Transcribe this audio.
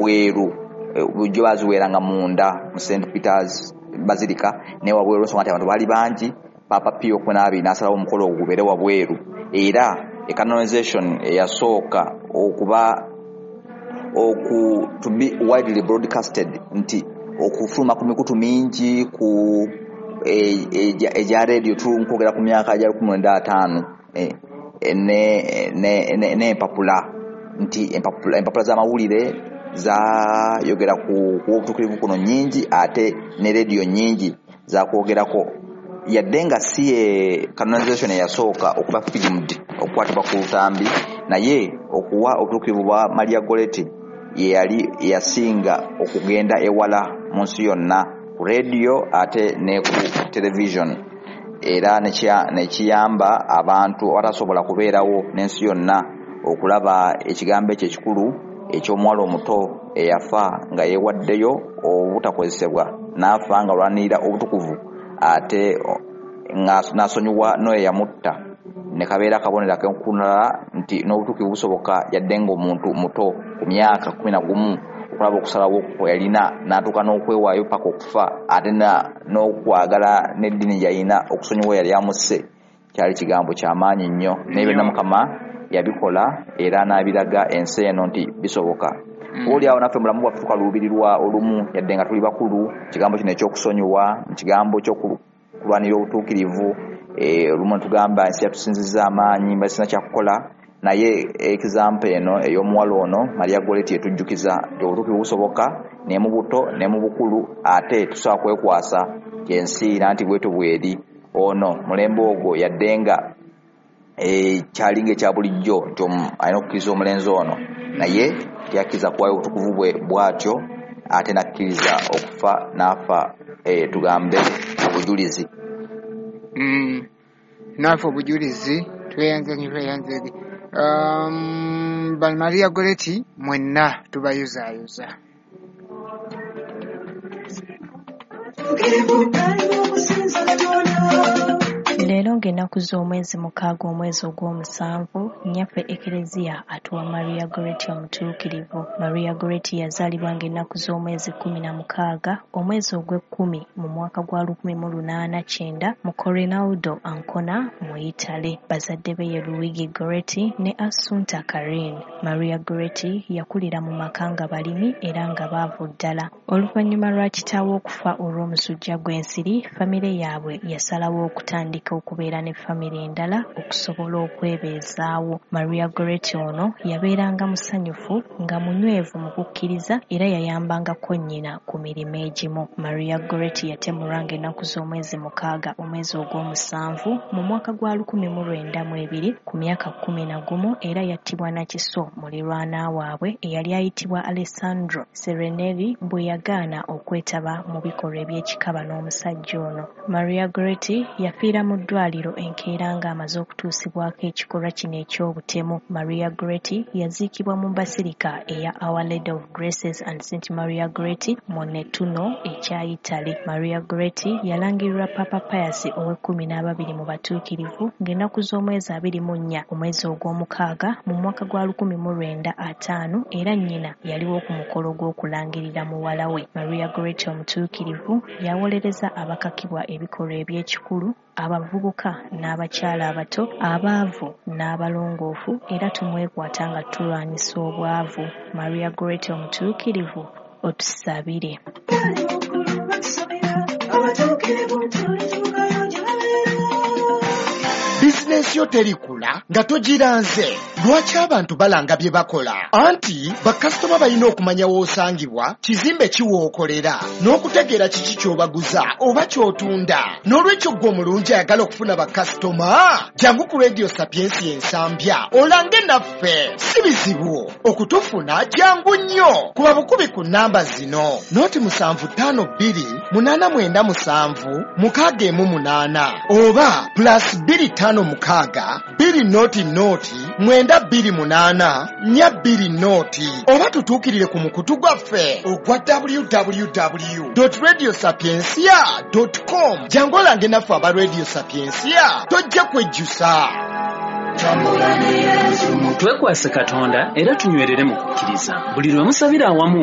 Wabweru. Bulijjo baziweeranga munda mu St Peters Basilica, naye wabweru olw'ensonga nti abantu baali bangi, Papa Pio 12 n'asalawo omukolo ogwo gubeere wabweru. Era canonization eyasooka okuba oku to be widely broadcasted, nti okufuluma ku mikutu mingi ku egya radio, tunkwogera ku myaka gya 1950, n'empapula, nti empapula z'amawulire zayogera ku obutuukirivu kuno nnyingi, ate ne rediyo nnyingi zakwogerako, yadde nga si ye canonization eyasooka okuba filmed, okukwatibwa ku lutambi, naye okuwa obutuukirivu bwa Maria Goretti ye yali yasinga okugenda ewala mu nsi yonna ku rediyo ate ne ku television, era nekiyamba abantu abatasobola kubeerawo n'ensi yonna okulaba ekigambo ekyo ekikulu eky'omuwala omuto eyafa nga yeewaddeyo obutakozesebwa, n'afa nga alwanirira obutukuvu, ate n'asonyiwa n'oyo eyamutta, ne kabeera akabonero ak'enkunala nti n'obutuukirivu busoboka yadde ng'omuntu muto ku myaka 11, okulaba okusalawo kwe yalina n'atuuka n'okwewaayo paka okufa, ate n'okwagala n'eddiini gy'alina okusonyiwa yali amusse. Kyali kigambo kyamaanyi nnyo, naye byonna Mukama yabikola era n'abiraga ensi eno nti bisoboka. Oli awo naffe mulamu bwaffe tukaluubirirwa olumu, yadde nga tuli bakulu, kigambo kino ekyokusonyiwa, kigambo ekyokulwanirira obutuukirivu. Olumu tugamba ensi yatusinzizza amaanyi, mba sina kyakukola, naye example eno ey'omuwala ono Maria Goretti etujjukiza nti obutuukirivu busoboka ne mu buto ne mu bukulu, ate tusobola kwekwasa ensi nanti bwetyo bweri. Ono mulembe ogwo yadde nga kyalinga ekya bulijjo nti alina okukkiriza omulenzi ono, naye teyakkiriza kuwaayo obutukuvu bwe bw'atyo, ate n'akkiriza okufa n'afa, tugambe obujulizi. N'afa obujulizi. Tweyanze nnyo, tweyanze. Ba Maria Goretti mwenna tubayuzaayoza. Leero ng'ennaku z'omwezi 6 omwezi ogw'omusanvu, nnyaffe Ekereziya atuwa Maria Goretti omutuukirivu. Maria Goretti yazaalibwa ng'ennaku z'omwezi 16 omwezi ogw'ekkumi mu mwaka gwa 1890 mu Corinaldo, Ancona mu Italy. Bazadde be ye Luigi Goretti ne Assunta Carini. Maria Goretti yakulira mu maka nga balimi era nga baavu ddala. Oluvannyuma lwa kitaawe okufa olw'omusujja gw'ensiri, famire yaabwe yasalawo okutandika okubeera ne famire endala okusobola okwebeezaawo. Maria Goretti ono yabeeranga musanyufu nga munywevu mu kukkiriza, era yayambangako nnyina ku mirimu egimu. Maria Goretti yatemulwa ng'ennaku z'omwezi 6 omwezi ogw'omusanvu mu mwaka gwa 1902 ku myaka 11, era yattibwa na kiso mulirwana waabwe eyali ayitibwa Alessandro Serenelli bwe yagaana okwetaba mu bikolwa eby'ekikaba n'omusajja ono. Maria Goretti yafiira mu ddwaliro enkeera ng'amaze okutuusibwako ekikolwa kino eky'obutemu. Maria Goretti yaziikibwa mu Basilica eya Our Lady of Graces and St Maria Goretti mu Nettuno ekya Italy. Maria Goretti yalangirirwa Papa Pius ow'e-12 mu batuukirivu ng'ennaku z'omwezi 24 omwezi ogw'omukaaga mu mwaka gwa 1950, era nnyina yaliwo ku mukolo gw'okulangirira muwala we. Maria Goretti omutuukirivu yawolereza abakakibwa ebikolwa eby'ekikulu, abavubuka n'abakyala abato, abaavu n'abalongoofu, era tumwekwata nga tulwanyisa obwavu. Maria Goretti omutuukirivu, otusabire. Bizinensi yo terikula nga togiranze. Lwaki abantu balanga bye bakola? Anti bakasitoma balina okumanya w'osangibwa, kizimbe ki w'okolera, n'okutegeera kiki ky'obaguza oba ky'otunda. N'olwekyo ggwe omulungi ayagala okufuna bakasitoma, jangu ku Radio Sapiensia Ensambya olange naffe. Si bizibu okutufuna, jangu nnyo. Kuba bukubi ku nnamba zino: 0 752 897 618 oba +256 200 928 420, oba tutuukirire ku mukutu gwaffe ogwa www.radiosapiencia.com. Jangu olange naffe aba Radio Sapiencia, tojja kwejjusa. Twekwase Katonda era tunywerere mu kukkiriza. Buli lwe musabira awamu.